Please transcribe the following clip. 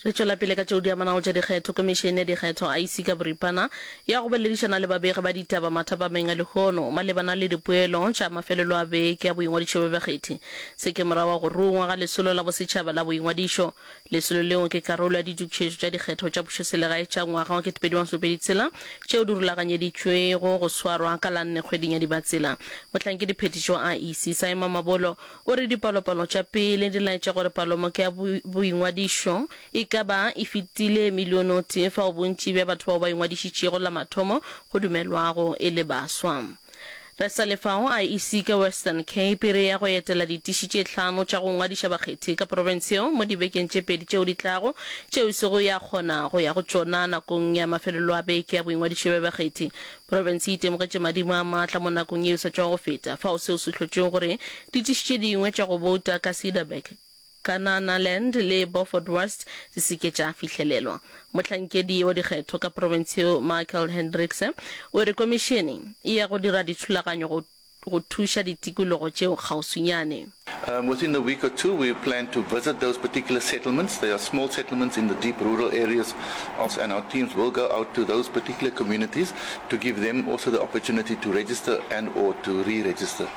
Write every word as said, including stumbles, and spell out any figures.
Re tšwela pele ka tšeo di amanago tša dikgetho. Komišene ya Dikgetho, I E C ka boripana, ya go boledišana le babegi ba ditaba mathapameng a lehono malebana le dipoelo tša mafelelo a beke ya boingwadišo bja bakgethi. Se ke morago ga go rungwa ga lesolo la bosetšhaba la boingwadišo. Lesolo leo ke karolo ya ditokišetšo tša dikgetho tša pušoselegae tša ngwaga wa ketepedi masomepedi tshela tšeo di rulaganyeditšwego go swarwa ka la nne kgweding ya Dibatsela. Mohlankediphetiši wa I E C, Simon Mabolo, o re dipalopalo tša pele di laetša gore palomoka ya boingwadišo e ka ba e fetile milione o tee fao bontši bja batho bao ba ingwadišitšego la mathomo go dumelwago e le baswa. Re sa le fao, I E C ka Western Cape e re ya go etela ditiši tše hlano tša go ngwadiša bakgethi ka profense yeo mo dibekeng tše pedi tšeo di tlago, tšeo e sego ya kgona go ya go tšona nakong ya mafelelo a beke ya boingwadišo bja bakgethi. Profense e itemogetše madimo a maatla mo nakong ye e sa tšwago go feta, fao seo se hlotšego gore ditiši tše dingwe tša go bouta ka Cederberg, Kananaland le Beaufort West di se ke tša fihlelelwa. Mohlankedi wa dikgetho ka profense yeo Michael Hendrickse o re komišene e ya go dira dithulaganyo go go thuša ditikologo tšeo kgauswinyane. Um, within a week or two, we plan to visit those particular settlements. They are small settlements in the deep rural areas, of, and our teams will go out to those particular communities to give them also the opportunity to register and or to re-register.